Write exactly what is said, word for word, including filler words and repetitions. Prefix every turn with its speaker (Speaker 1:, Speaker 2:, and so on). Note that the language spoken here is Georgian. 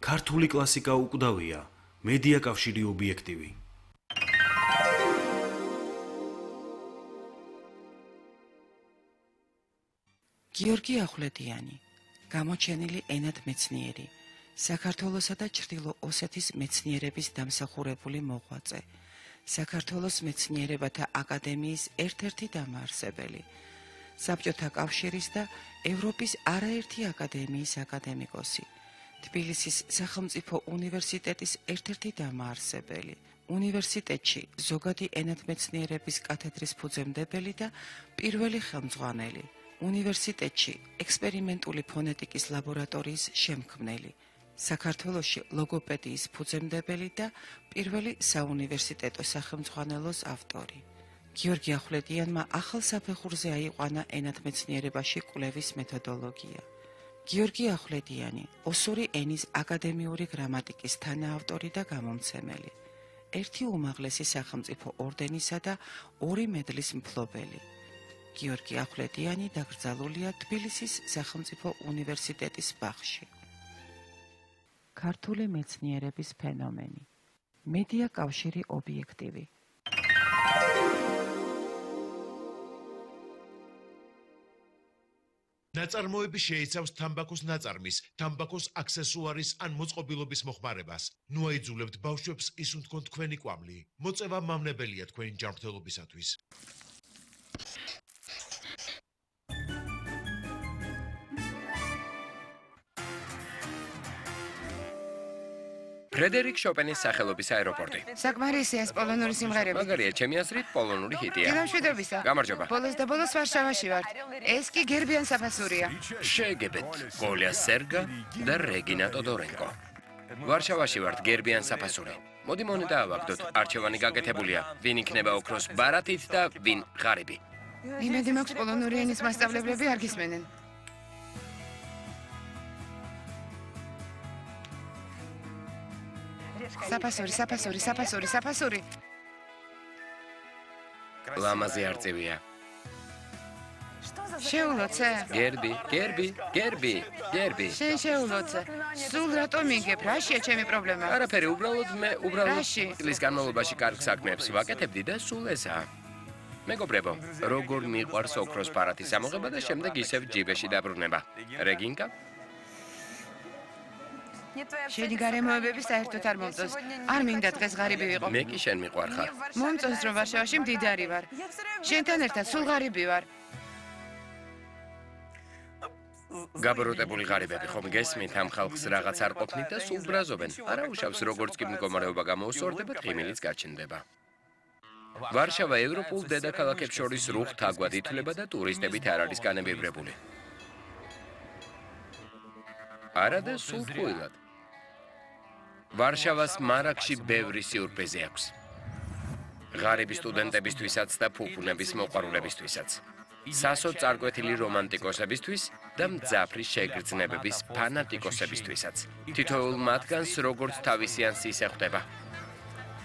Speaker 1: ქართული კლასიკა უკვდავია, მედია კავშირი ობიექტივი.
Speaker 2: გიორგი ახვლედიანი, გამოჩენილი ენათმეცნიერი, საქართველოსა და ჩრდილო ოსეთის მეცნიერების დამსახურებული მოღვაწე, საქართველოს მეცნიერებათა აკადემიის ერთ-ერთი დამაარსებელი, საბჭოთა კავშირის და ევროპის არაერთი აკადემიის აკადემიკოსი, თბილისის სახელმწიფო უნივერსიტეტის ერთ-ერთი დამაარსებელი, უნივერსიტეტში ზოგადი ენათმეცნიერების კათედრის ფუძემდებელი და პირველი ხელმძღვანელი, უნივერსიტეტში ექსპერიმენტული ფონეტიკის ლაბორატორიის შემქმნელი, საქართველოში ლოგოპედიის ფუძემდებელი და პირველი საუნივერსიტეტო სახელმძღვანელოს ავტორი. გიორგი ახვლედიანმა ახალ საფეხურზე აიყვანა ენათმეცნიერებაში კვლევის მეთოდოლოგია. გიორგი ახვლედიანი, ოსური ენის აკადემიური გრამატიკის თანაავტორი და გამომცემელი, ერთი უმაღლესი სახელმწიფო ორდენისა და ორი მედლის მფლობელი. გიორგი ახვლედიანი დაკრძალულია თბილისის სახელმწიფო უნივერსიტეტის ბაღში. ქართული მეცნიერების ფენომენი. მედია კავშირი ობიექტივი.
Speaker 3: ნაწარმოები შეიცავს თამბაქოს ნაწარმის, თამბაქოს აქსესუარის ან მოწყობილობის მოხმარებას. ნუ აიძულებთ ბავშვებს ისუნ თქვენ თქვენი კვამლი. მოწევა მავნებელია თქვენი ჯანმრთელობისათვის.
Speaker 4: ფრედერიკ შოპენის სახელობის აეროპორტი.
Speaker 5: საკმარისია ეს პოლონური სიმღერები.
Speaker 4: მაგარია, ჩემი აზრით პოლონური ჰიტია.
Speaker 5: გამშვიდობისა.
Speaker 4: გამარჯობა.
Speaker 5: ბოლოს და ბოლოს ვარშავაში ვარ. ეს კი გერბიან საფასურია.
Speaker 4: შეგებეთ, გოლია სერგა და რეგინა ტოდორენკო. ვარშავაში ვართ, გერბიან საფასური. მოდი მონეტა ავაგდოთ, არჩევანი გაკეთებულია. ვინ იქნება ოქროს ბარათით და ვინ ღარიბი.
Speaker 5: იმედი მაქვს პოლონური ენის მასწავლებლები არ გისმენენ. საფასური, საფასური, საფასური, საფასური.
Speaker 4: ლამაზი არწივია.
Speaker 5: შეულოცე.
Speaker 4: გერბი, გერბი, გერბი, გერბი.
Speaker 5: შენ შეულოცე. სულ რატომ იგებ? რაშია ჩემი პრობლემა?
Speaker 4: არაფერი, უბრალოდ მე უბრალოდ
Speaker 5: რაში?
Speaker 4: წლის განმავლობაში კარგ საქმეებს ვაკეთებდი და სულ ესაა. მეგობრებო, როგორ მიყვარს ოქროს ბარათის ამოღება და შემდეგ ისევ ჯიბეში დაბრუნება. რეგინკა?
Speaker 5: შენი გარემოებები საერთოდ არ მომწონს. არ მინდა დღეს ღარიბი ვიყო.
Speaker 4: მე კი შენ მიყვარხარ.
Speaker 5: მომწონს რომ ვარშავაში მდიდარი ვარ. შენთან ერთად სულ ღარიბი ვარ.
Speaker 4: გაბროტებული ღარიბები ხომ გესმით ამ ხალხს რაღაც არ ყოფნით და სულ ბრაზობენ. არა უშავს როგორც კი მდგომარეობა გამოუსწორდება, ღიმილიც გაჩნდება. ვარშავა ევროპულ დედაქალაქებს შორის რუხ თაგვად ითვლება და ტურისტებით არ არის განებიბრებული. არა და სულ ტყუილად. ვარშავას მარაგში ბევრი სიურპრიზი აქვს. ღარიბი სტუდენტებისთვისაც და ფუფუნების მოყვარულებისთვისაც. სასო წარკვეთილი რომანტიკოსებისთვის და მძაფრი შეგრძნებების ფანატიკოსებისთვისაც. თითოეულ მათგანს როგორც თავისი ანსი ხვდება.